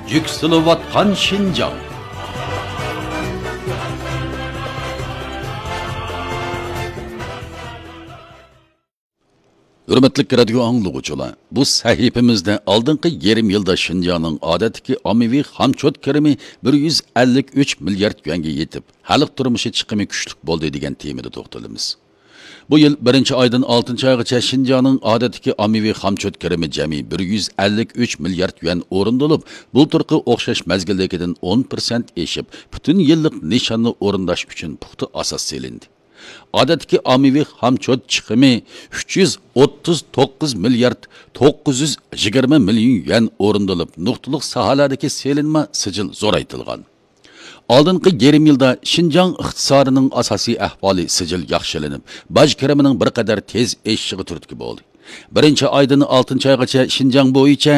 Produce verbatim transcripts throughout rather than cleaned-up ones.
يۈكسىلىۋاتقان شىنجاڭ. ھۆرمەتلىك رادىيو ئاڭلىغۇچىلار، بۇ سەھىپىمىزدە ئالدىنقى يېرىم يىلدا شىنجاڭنىڭ ئادەتتىكى ئاممىۋى خامچوت كىرىمى بىر يۈز ئەللىك ئۈچ مىليارد يۈەنگە يېتىپ، خەلق تۇرمۇشى چىقىمى كۈچلۈك بولدى دېگەن تېمىدا توختىلىمىز. بۇ يىل بىرىنچى ئايدىن ئالتىنچى ئايغىچە شىنجاڭنىڭ ئادەتتىكى ئاممىۋى خامچوت كىرىمى جەمئىي بىر يۈز ئەللىك ئۈچ مىليارد يۈەن ئورۇندىلىپ، بۇلتۇرقى ئوخشاش مەزگىلدىكىدىن ئون پىرسەنت ئېشىپ، پۈتۈن يىللىق نىشاننى ئورۇنداش ئۈچۈن پۇختا ئاساس سېلىندى. ئادەتتىكى ئاممىۋى خامچوت چىقىمى ئۈچ يۈز ئوتتۇز توققۇز مىليارد توققۇز يۈز يىگىرمە مىليون يۈەن ئورۇندىلىپ، نۇقتىلىق ساھەلەردىكى سېلىنما سىجىل زورايتىلغان. ئالدىنقى يېرىم يىلدا شىنجاڭ ئىقتىسادىنىڭ ئاساسىي ئەھۋالى سىجىل ياخشىلىنىپ، باج كىرىمىنىڭ بىر قەدەر تېز ئېشىشىغا تۈرتكە بولدى. بىرىنچى ئايدىن ئالتىنچى ئايغىچە شىنجاڭ بويىچە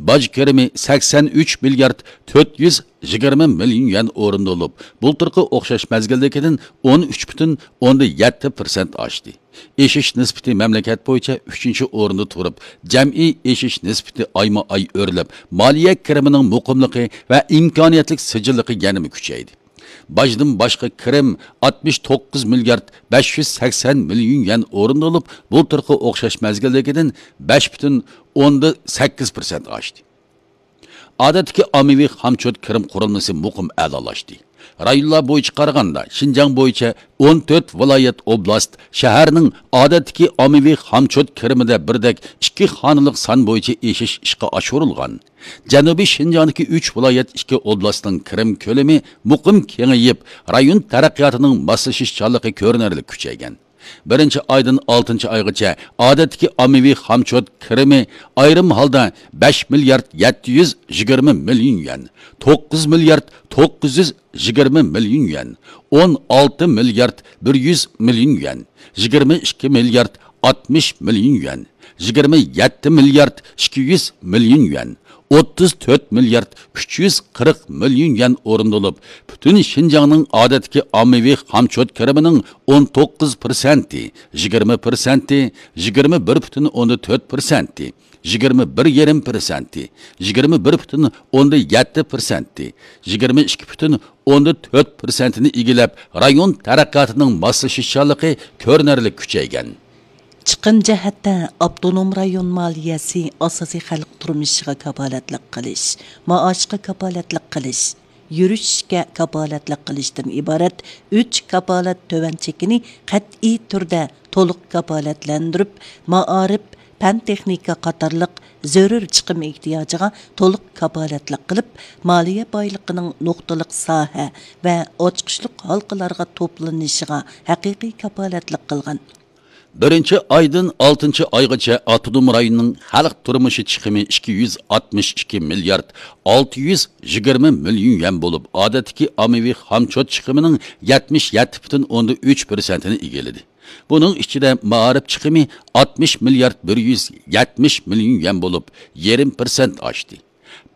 باج كىرىمى سەكسەن ئۈچ مىليارد تۆت يۈز يىگىرمە مىليون يۈەن ئورۇندىلىپ، بۇلتۇرقى ئوخشاش مەزگىلدىكىدىن ئون ئۈچ پۈتۈن ئوندىن يەتتە پىرسەنت ئاشتى. ئېشىش نىسبىتى مەملىكەت بويىچە ئۈچىنچى ئورۇندا تۇرۇپ، جەمئىي ئېشىش نىسبىتى ئايمۇ ئاي ئۆرلەپ، مالىيە كىرىمىنىڭ مۇقىملىقى ۋە ئىمكانىيەتلىك سىجىللىقى يەنىمۇ كۈچەيدى. باجدىن باشقا كىرىم ئاتمىش توققۇز مىليارد بەش يۈز سەكسەن مىليون يۈەن ئورۇندىلىپ، بۇلتۇرقى ئوخشاش مەزگىلدىكىدىن بەش پۈتۈن ئوندىن سەككىز پىرسەنت ئاشتى. ئادەتتىكى ئاممىۋى خامچوت كىرىم قۇرۇلمىسى مۇقىم ئەلالاشتى. رايونلار بويىچە قارىغاندا، شىنجاڭ بويىچە ئون تۆت ۋىلايەت، ئوبلاست، شەھەرنىڭ ئادەتتىكى ئاممىۋى خامچوت كىرىمىدە بىردەك ئىككى خانىلىق سان بويىچە ئېشىش ئىشقا ئاشۇرۇلغان. جەنۇبىي شىنجاڭدىكى ئۈچ ۋىلايەت، ئىككى ئوبلاستنىڭ كىرىم كۆلىمى مۇقىم كېڭىيىپ، رايون تەرەققىياتىنىڭ ماسلىشىشچانلىقى كۆرۈنەرلىك كۈچەيگەن. بىرىنچى ئايدىن ئالتىنچى ئايغىچە ئادەتتىكى ئاممىۋى خامچوت كىرىمى ئايرىم ھالدا بەش مىليارد يەتتە يۈز يىگىرمە مىليون يۈەن، توققۇز مىليارد توققۇز يۈز يىگىرمە مىليون يۈەن، ئون ئالتە مىليارد بىر يۈز مىليون يۈەن، يىگىرمە ئىككى مىليارد ئاتمىش مىليون يۈەن، يىگىرمە يەتتە مىليارد ئىككى يۈز مىليون يۈەن، ئوتتۇز تۆت مىليارد ئۈچ يۈز قىرىق مىليون يۈەن ئورۇندىلىپ، پۈتۈن شىنجاڭنىڭ ئادەتتىكى ئاممىۋى خامچوت كىرىمىنىڭ ئون توققۇز پىرسەنتى، يىگىرمە پىرسەنتى، يىگىرمە بىر پۈتۈن ئوندىن تۆت پىرسەنتى، يىگىرمە بىر يېرىم پىرسەنتى، يىگىرمە بىر پۈتۈن ئوندىن يەتتە پىرسەنتى، يىگىرمە ئىككى پۈتۈن ئوندىن تۆت پىرسەنتىنى ئىگىلەپ، رايون تەرەققىياتىنىڭ ماسلىشىشچانلىقى كۆرۈنەرلىك كۈچەيگەن. چىقىم جەھەتتە ئاپتونوم رايون مالىيەسى ئاساسىي خەلق تۇرمۇشىغا كاپالەتلىك قىلىش، مائاشقا كاپالەتلىك قىلىش، يۈرۈشۈشكە كاپالەتلىك قىلىشتىن ئىبارەت ئۈچ كاپالەت تۆۋەن چېكىنى قەتئىي تۈردە تولۇق كاپالەتلەندۈرۈپ، مائارىپ، پەن تېخنىكا قاتارلىق زۆرۈر چىقىم ئېھتىياجىغا تولۇق كاپالەتلىك قىلىپ، مالىيە بايلىقىنىڭ نۇقتىلىق ساھە ۋە ئاچقۇچلۇق ھالقىلارغا توپلىنىشىغا ھەقىقىي كاپالەتلىك قىلغان. بىرىنچى ئايدىن ئالتىنچى ئايغىچە ئاپتونوم رايوننىڭ خەلق تۇرمۇشى چىقىمى ئىككى يۈز ئاتمىش ئىككى مىليارد ئالتە يۈز يىگىرمە مىليون يۈەن بولۇپ، ئادەتتىكى ئاممىۋى خامچوت چىقىمىنىڭ يەتمىش يەتتە پۈتۈن ئوندىن ئۈچ پىرسەنتىنى ئىگىلىدى. بۇنىڭ ئىچىدە مائارىپ چىقىمى ئاتمىش مىليارد بىر يۈز يەتمىش مىليون يۈەن بولۇپ، يېرىم پىرسەنت ئاشتى.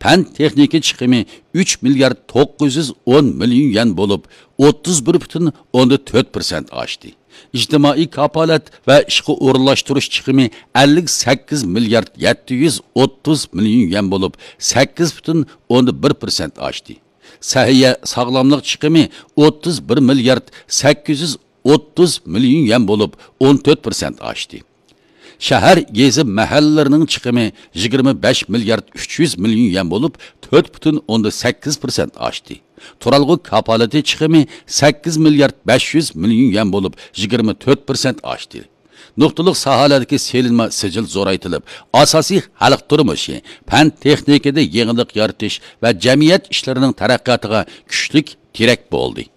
پەن تېخنىكا چىقىمى ئۈچ مىليارد توققۇز يۈز ئون مىليون يۈەن بولۇپ، ئوتتۇز بىر پۈتۈن ئوندىن تۆت پىرسەنت ئاشتى. ئىجتىمائىي كاپالەت ۋە ئىشقا ئورۇنلاشتۇرۇش چىقىمى ئەللىك سەككىز مىليارد يەتتە يۈز ئوتتۇز مىليون يۈەن بولۇپ، سەككىز پۈتۈن ئوندىن بىر پىرسەنت ئاشتى. سەھىيە ساغلاملىق چىقىمى ئوتتۇز بىر مىليارد سەككىز يۈز ئوتتۇز مىليون يۈەن بولۇپ، ئون تۆت پىرسەنت ئاشتى. شەھەر، يېزا، مەھەللىلەرنىڭ چىقىمى يىگىرمە بەش مىليارد ئۈچ يۈز مىليون يۈەن بولۇپ، تۆت پۈتۈن ئوندىن سەككىز پىرسەنت ئاشتى. تۇرالغۇ كاپالىتى چىقىمى سەككىز مىليارد بەش يۈز مىليون يۈەن بولۇپ، يىگىرمە تۆت پىرسەنت ئاشتى. نۇقتىلىق ساھەلەردىكى سېلىنما سىجىل زورايتىلىپ، ئاساسىي خەلق تۇرمۇشى، پەن تېخنىكىدا يېڭىلىق يارىتىش ۋە جەمئىيەت ئىشلىرىنىڭ تەرەققىياتىغا كۈچلۈك تىرەك بولدى.